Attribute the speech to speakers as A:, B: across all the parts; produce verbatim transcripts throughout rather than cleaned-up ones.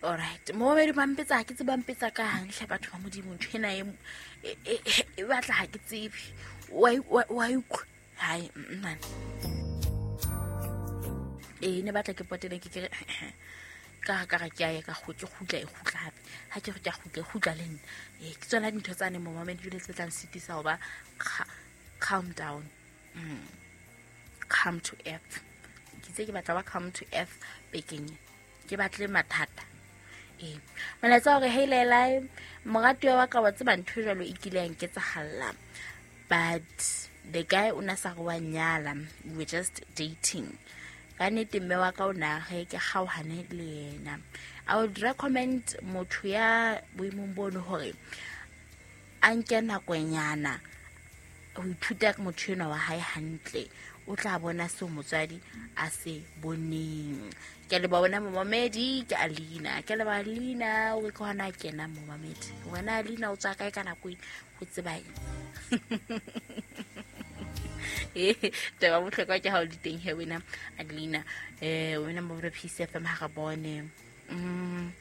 A: Alright, momamedi, ba mpetsa, ha ke tsebe ba mpetsa ka hang hle. Batho ba Modimo, ntho ena e e- e e batla, ha ke tsebe, wa wa wa utlwa? Hai, man, ee, ne batla ke potele, ke kere ka ka re ke a ya ka ke kgutla, e kgutla hape. Ha ke re ke a kgutla, e kgutla le nna. Ee, ke tsona dintho tsane, momamedi, jwale tse tlang sitisa ho ba calm down, mm. calm to earth. Ke itse ke batla ba calm to earth bekeng e, ke batle mathata. Ee, molaetsa hore hey lelai, moratuwa wa ka, wa tseba ntho e jwalo e kile ya nketsahalla, but the guy o na sa re wa nyala, we were just dating. Ka nnete mme wa ka o na re ke kgaohane le yena. I would recommend motho ya boemong bono hore a nke nakonyana ho ithuta ka motho enwa wa hae hantle, o tla bona seo motswadi a se boneng. Ke a leboha wena momamedi, ke Alina. Ke a leboha Alina, o ke hona a kena momamedi. Wena Alina, o tswa kae ka nako e ho tseba eng? Ee, taba bohlokwa ke ha o le teng he wena Adelina, um wena mo Peace F M, ha re bone. Mm.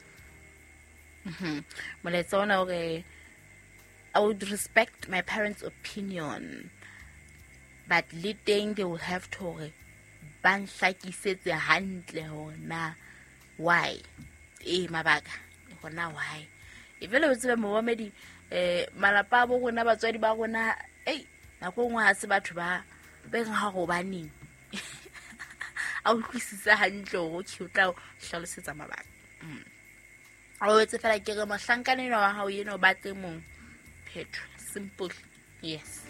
A: Mhm. molaetsa ona o re, "I would respect my parents' opinion, but le teng they will have to hore ba nhlakisetse hantle hore na why, ee, mabaka hore na why." E vele o tsebe momamedi, um malapa a bo rona, batswadi ba rona, ei, nako e nngwe ha se batho ba be reng ha hobaneng a utlwisise hantle hore okay, o tla o hlalosetsa mabaka. Mm. O etse fela ke re mohlankana enwa wa hao ena o batle mong, phetho, simple, yes.